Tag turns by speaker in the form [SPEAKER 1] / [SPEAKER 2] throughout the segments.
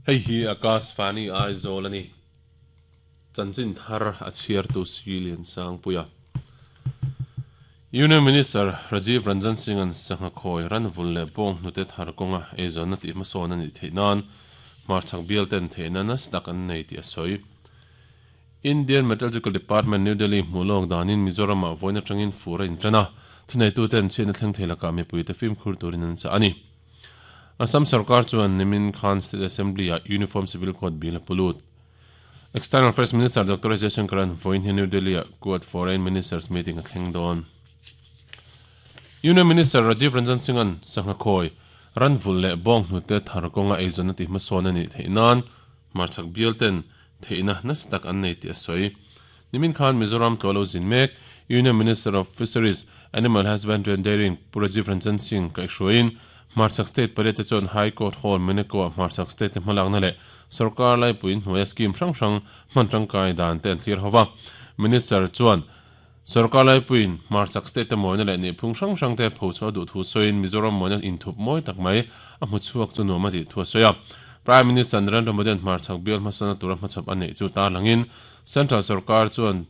[SPEAKER 1] Hei hi Akashvani Aizawl a ni. Chanchin thar a chhiartu Si Liansangpuia. Union Minister Rajiv Ranjan Singh-a'n sangha khawi ranvul leh bawng hnute thar kawnga eizawnna tih hmasawn a nih theih nan hmarchhak bial ten theihna nasa tak an nei tih a sawi. Indian Meteorological Department, New Delhi hmuh lawk danin Mizoram-ah vawiin atangin fur a intan a, thuneituten chhiatna thleng thei lakah mipuite fimkhur turin an chah a ni. Assam sorkar chuan nimin khan State Assembly-ah Uniform Civil Code bill a pu lut. External Affairs Minister Doctor S Jaishankar-a'n vawiin hian New Delhi-ah Quad Foreign Ministers Meeting a thleng dawn. Union Minister Rajiv Ranjan Singh-a'n sangha khawi, ranvulh leh bawnghnute thar kawnga eizawnna tihhmasawn a nih theih nan hmarchhak bial ten theihna nasa tak an nei tih a sawi. Nimin khan Mizoram tlawh lo zin mek Union Minister of Fisheries, Animal Husbandry and Dairying Pu Rajiv Ranjan Singh kaihhruaiin hmarchhak state pariat te chuan High Court Hall Meneko-ah hmarchhak state te hmalakna leh sorkar laipui hnuaia scheme hrang hrang hman tangkai dan te an thlir ho va. Minister chuan sorkar laipuiin hmarchhak state te mawina leh nihphung hrang hrang te phochhuah a duh thu sawiin Mizoram mawina inthup mawi tak mai a hmu chhuak chu nuam a tih thu a sawi a. Prime Minister Narendra Modi-a'n hmarchhak bial hmasawnna tura hmachhawp a neih chu tarlangin Central sorkar chuan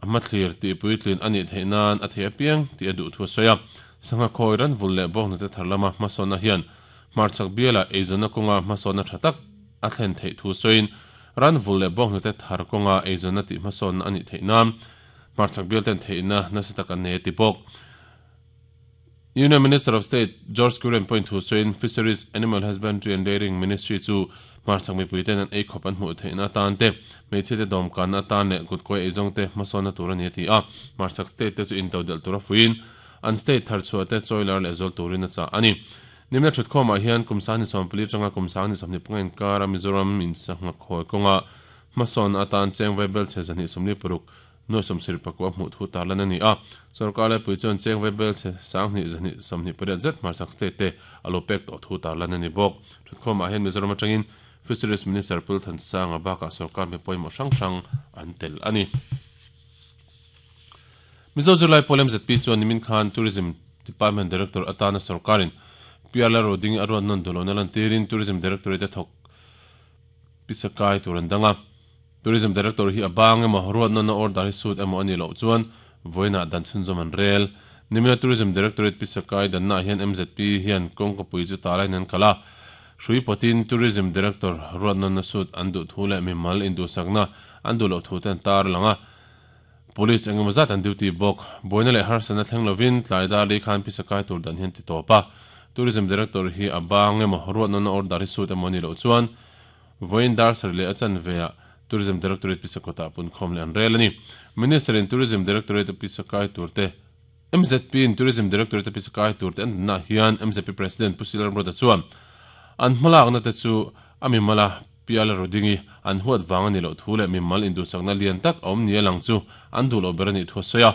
[SPEAKER 1] a hmathlir tih puitlin a nih theih nan a thei apiang tih a duh thu a sawi a. Sangha khawi ranvul leh bawnghnute thar lama hmasawnna hian hmarchhak biala eizawnna kawnga hmasawnna tha tak a thlen theih thu sawiin ranvul leh bawnghnute thar kawnga eizawnna tih hmasawnna a nih theih nan hmarchhak bial ten theihna nasa tak an nei a ti bawk. Union Minister of State George Kurian pawhin thu sawiin Fisheries, Animal Husbandry and Dairying Ministry chu hmarchhak mipuite'n an eikhawp an hmuh theihna atan te, hmeichhiate dawmkanna atan leh kutkawi eizawngte hmasawnna tur a ni a ti a. Hmarchhak state te chu intodelh tura fuiin an state tharchhuah te chawilar leh zual turin a chah a ni. Nimna thutkhawmah hian kum 24 atanga kum 25 inkara Mizoram in sangha khawi kawnga hmasawnna atan cheng vaibel chhe 246 Nuai sawmsarih pakua hmuh thu tarlan a ni a, sorkar laipui chuan cheng vaibel chhe 2228 zet hmarchhak state te a lo pek tawh thu tarlan a ni bawk. Thutkhawmah hian Mizoram atangin Fisheries Minister Pul Thansanga bakah sorkar mi pawimawh hrang hrang an tel a ni. Mizo zirlai pawl MZP chuan nimin khan Tourism Department Director atana sorkarin PR Lalrodingi a ruat nawn duh lohna lantirin Tourism Directorate a thawk pisa kai tur an dang a. Tourism Director hi a bang emaw, ruatnawna order hi sut emaw a nih loh chuan vawiinah dan chhunzawm an rel. Nimina Tourism Directorate pisa kai dannaah hian mzp hian kawngkapui chu talaiin an kal a. Hrui pawtin Tourism Director ruatnawna sut an duh thu leh mimal induhsakna an duh loh thu te an tar lang a. Police engemaw zat an duty bawk. Buaina leh harsatna thleng lovin tlai dar li khan pisa kai tur dan hian ti tawp a. Tourism Director hi a bang emaw, ruatnawna order hi sut emaw a nih loh chuan Vawiin dar sarih leh a chanveah Tourism Directorate Pisakawtah punkhawm leh an rel a ni. Minister in Tourism Directorate a pisa kai tur te, mzp in Tourism Directorate a pisa kai tur te an dannaah hian mzp President Pu Silar Mruata chuan an hmalakna te chu a mimala Piala Rodingi an huat vang a nih loh thu leh mimal induhsakna lian tak a awm nia lang chu an duh loh ber a nih thu a sawi a.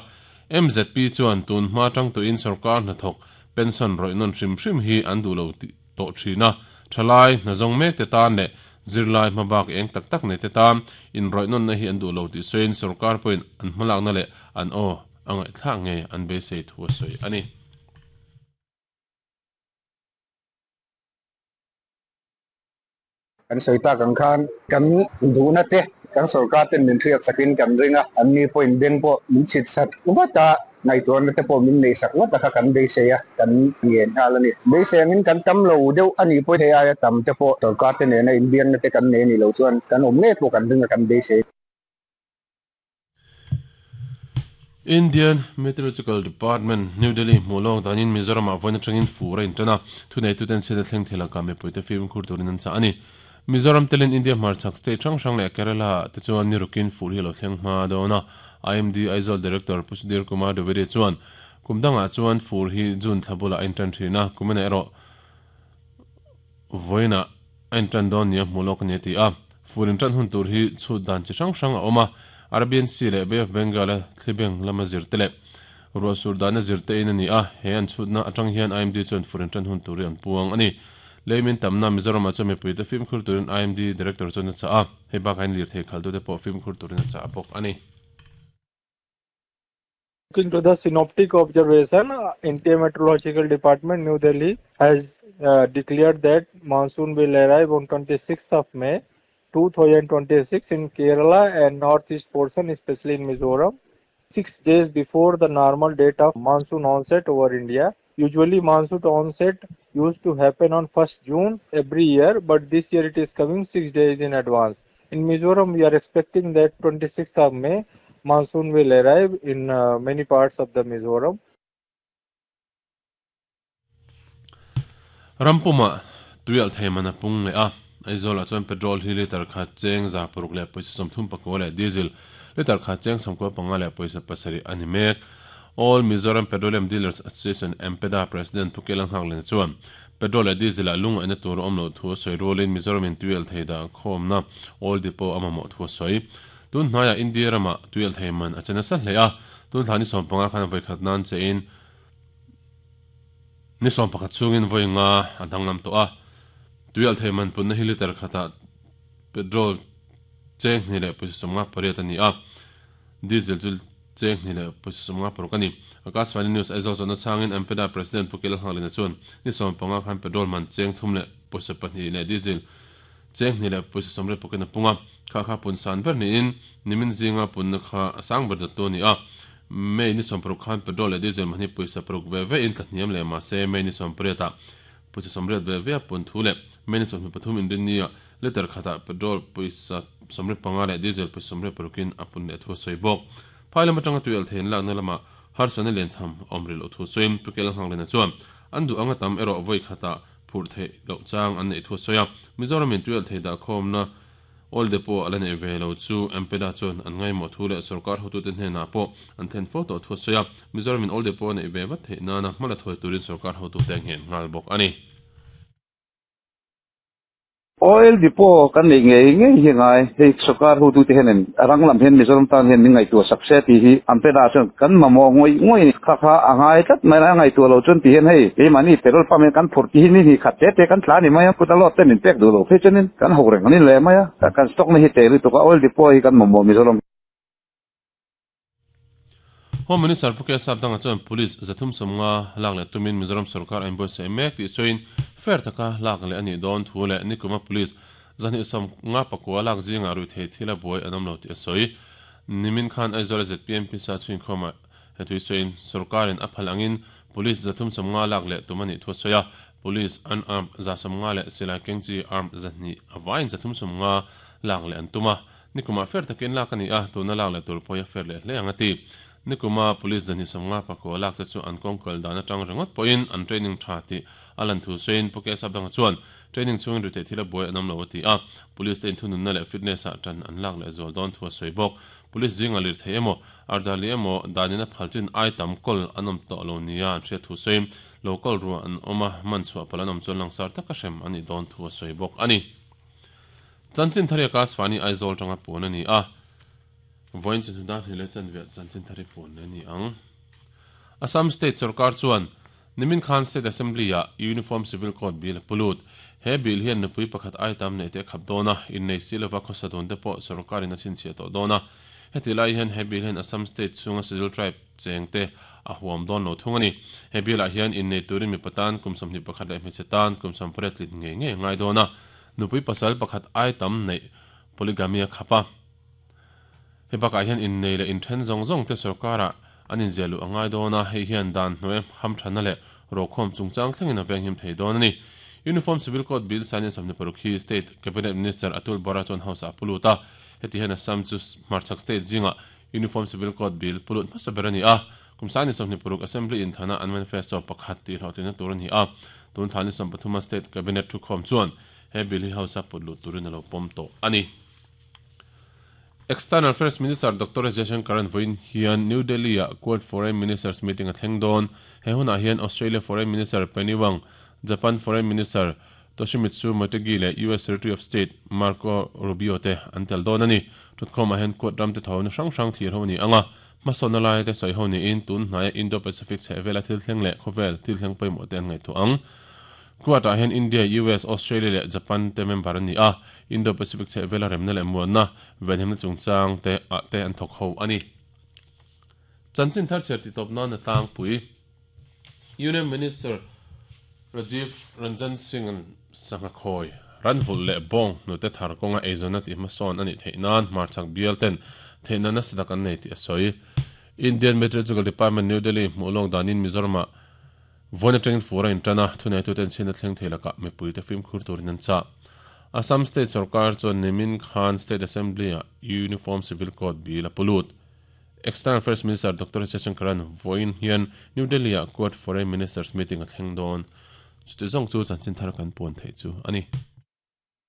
[SPEAKER 1] Mzp chuan tun hma tang tuin sorkar hnathawk pension rawih nawn hrim hrim hi an duh lo tih tawh thin a, thalai, hnazawng mek te tan leh zirlai hmabak eng tak tak nei te tan inrawih nawnna hi an duh lo tih sawiin sorkar pawhin an hmalakna leh an aw a ngaihthlak ngei an beisei thu a sawi a ni.
[SPEAKER 2] Kan sawi tak ang khan kan duhna te kan sorkar ten min hriat sakin kan ring a, an ni pawhin beng pawh min chhit sak vat a, ngaihtuahna te pawh min neih sak vat a kha kan beisei a, kan ngen nghal a ni. Beisei angin kan tam lo deuh a nih pawh hei aia tam te pawh sorkar te nena inbiakna te kan nei a nih loh chuan kan awm ngei pawh kan ring a kan beisei.
[SPEAKER 1] Indian Meteorological Department, New Delhi hmuh lawk danin Mizoramah vawiin atangin fur a intan a, thuneituten chhiatna thleng thei lakah mipuite fimkhur turin an chah a ni. Mizoram telin India hmarchhak state hrang hrang leh Kerala te chuan ni rukin fur hi a lo thleng hma dawn a, IMD Aizawl Director Pu Sudhir Kumar Dwivedi chuan kum dangah chuan fur hi June thla bulah a intan thin a, kuminah erawh Vawiinah a intan dawn nia hmuh lawk a ni a ti a. Fur intan hun tur hi chhut dan chi hrang hrang a awm a, Arabian Sea leh Bay of Bengal-a thlibeng lama zir te leh ruah sur dana zir te in a ni a, he an chhutna atang hian IMD chuan fur intan hun tur hi an puang a ni. Leimin tamna Mizoramah chuan mipuite fimkhur turin IMD Director chuan a chah a, hei bakah hian lirthei khalhtute pawh fimkhur turin a chah bawk a ni.
[SPEAKER 3] Looking to the synoptic observation, India Meteorological Department, New Delhi has declared that monsoon will arrive on 26th of May 2026 in Kerala and northeast portion, especially in Mizoram, 6 days before the normal date of monsoon onset over India. Usually monsoon onset used to happen on 1st June every year, but this year it is coming 6 days in advance. In Mizoram, we are expecting that 26th of May, monsoon will arrive in many parts of the Mizoram.
[SPEAKER 1] Rampuma tuial theimana pung le a Aizawl ah chuan petrol hi litre khat cheng 634 leh diesel litre khat cheng 95.7 a ni mek. All Mizoram Petroleum Dealers Association, MPEDA, President Pu Kelang Nghaklen chuan petrol leh diesel ah lungaihna tur a awm loh thu a sawi rualin Mizoram in tuial thei dah khawmna oil depot a mamawh thu a sawi. Tun hnaiah India ramah tuial thei man a che nasa hle a, tun thla ni 15 khan vawikhat nan chein ni 11 chhungin vawi nga a danglam tawh a. Tuial thei man punna hi litre khatah petrol cheng hnih leh pawisa 58 a ni a, diesel chu cheng hnih leh pawisa 56 a ni. Akashvani News Aizawl zawhna chhangin MPEDA President Pu Kelal Nghaklina chuan ni 15 khan petrol man cheng thum leh pawisa pahnih leh diesel cheng hnih leh pawisa sawmriat pawkin a pung a, kha kha pun san ber niin nimin zinga punna kha a sang ber dawttu a ni a. May ni 60 khan petrol leh diesel mahni pawisa paruk ve ve in tla hniam leh mahse May ni 18 ah pawisa 80 ve ve a pun thu leh May ni 23 inrinnia litre khatah petrol pawisa 75 leh diesel pawisa 86 in a pun leh thu a sawi bawk. Phai lam atanga tuialh thei an lakna lamah harsatna lian tham a awm rih loh thu sawiin Pu Kel Nghakliana chuan an duh anga tam erawh vawi khatah phurh theih loh chang an neih thu a sawi a, Mizoram in tuialh thei dah khawmna Oil Depot a la neih ve lo chu MPEDA chuan an ngaimawh thu leh sorkar hotute hnenah pawh an then fo tawh thu a sawi a, Mizoram in Oil Depot a neih ve vat theih nana hma la thuai turin sorkar hotute a nghen nghal bawk a ni.
[SPEAKER 4] Oil Depot kan neih ngei ngei hi ngai, hei sorkar hotute hianin a rang lam hian Mizoram tan hian min ngaihtuah sak se tih hi an pe dah chuan kan mamawh ngawih ngawih a ni. Kha kha a ngai tlat mai a, ngaihtuah lo chuan ti hian hei keimahni petrol pump hian kan phurh tih hi ni hnih khat te te kan tla a ni mai a, kut a load te min pek duh lo phei chuanin kan ho reng a ni leh mai a, kan stock na hi teh lutuk a, Oil Depot hi kan mamawh Mizoram.
[SPEAKER 1] Home Minister Pu Kesap Danga chuan Police 350 lak leh tumin Mizoram sorkar a inbuatsaih mek tih sawiin fair taka lak leh a nih dawn thu leh nikuma Police 259 lak zingah ruihtheih thil a buai an awm lo tih a sawi. Nimin khan Aizawl-a zpm pisa chhuinkhawmah he thui sawiin sorkarin a phal angin Police 350 lak leh tum a nih thu a sawi a, Police unarmed 150 leh silai kengchi armed 200 a vaiin 350 lak leh an tum a. Nikumah fair takin lak a ni a, tuna lak leh tur pawh a fair leh hle ang a ti. Nikuma Police 259 lak te chu an kawng kal dan atang ringawt pawhin an training tha tih a lan thu sawiin Pu Kesap Danga chuan training chhungin riteih thil a buai an awm lo a ti a, Police te inthununna leh fitness ah tan an lak leh zual dawn thu a sawi bawk. Police zingah lirthei emaw, ardali emaw danin a phal chin ai tam kawl an awm tawh lo nia an hriat thu sawiin lo kawl ruah an awm a, man chhuah palh an awm chuan langsar taka hrem a nih dawn thu a sawi bawk a ni. Chanchin thari a Kasvani Aizawl tanga puan a ni a, vawiin chu hnudan hnih leh chanve chanchin thari puan a ni ang. Assam State sorkar chuan nimin khan State Assembly-ah Uniform Civil Code Bill a pu lut. He bill hian nupui pakhat ai tam neih te a khap dawn a, innei si lova khawsa dun te pawh sorkarin a chhinchhiah tawh dawn a. Heti lai hian he bill hian Assam State chhunga Scheduled Tribe cheng te a huam dawn lo thung a ni. He bill-ah hian innei turin mipa tan kum 21 leh hmeichhe tan kum 18 tlin ngei ngei a ngai dawn a. Nupui pasal pakhat ai tam neih polygamy a khap a. Hei bakah hian innei leh inthen zawng zawng te sorkarah an inziah luh a ngai dawn a, hei hian dan hnuai hamthanna leh rokhawm chungchang thlengin a venghim thei dawn a ni. Uniform Civil Code Bill sign in 26 hi State Cabinet Minister Atul Bora chuan House ah a pu lut a, heti hian Assam chu hmarchhak state zingah Uniform Civil Code Bill pu lut hmasa ber a ni a. Kum 2026 Assembly inthana an manifesto pakhat tih hlawhtlinna tur a ni a, tun thla ni 13 a State Cabinet thukhawm chuan he bill hi House a put lut turin a lo pawm tawh a ni. External Affairs Minister Doctor S Jaishankar-a'n vawiin hian New Delhi-ah Quad Foreign Ministers meeting a thleng dawn. He hunah hian Australia Foreign Minister Penny Wong, Japan Foreign Minister Toshimitsu Motegi leh US Secretary of State Marco Rubio te an tel dawn a ni. Thutkhawmah hian Quad ramte thawhna hrang hrang thlir ho a ni ang a, Hmasawnna lai te sawi ho niin tun hnaia Indo-Pacific chhehvela thil thleng leh khawvel thil thleng pawimawh te an ngaihtuah ang. Quad-ah hian India, US, Australia leh Japan te member an ni a, Indo-Pacific chhehvela remna leh muanna, venhimna chungchang te ah te an thawk ho a ni. Chanchin thar chhiar titawp nan a tlangpui. Union Minister Rajiv Ranjan Singh-a'n sangha khawi, ranvulh leh bawng hnute thar kawnga eizawnna tih hmasawn a nih theih nan hmarchhak bial ten theihna nasa tak an nei tih a sawi. Indian Meteorological Department, New Delhi hmuh lawk danin Mizoramah vawiin atangin fur a intan a, thuneituten chhiatna thleng thei lakah mipuite fimkhur turin an chah. Assam State sorkar chuan nimin khan State Assembly-ah Uniform Civil Code bill a pu lut. External Affairs Minister Doctor Jaishankar-a'n vawiin hian New Delhi-ah Quad Foreign Ministers meeting a thleng dawn. Chuti zawng chu chanchin thar kan puan theih chu a ni.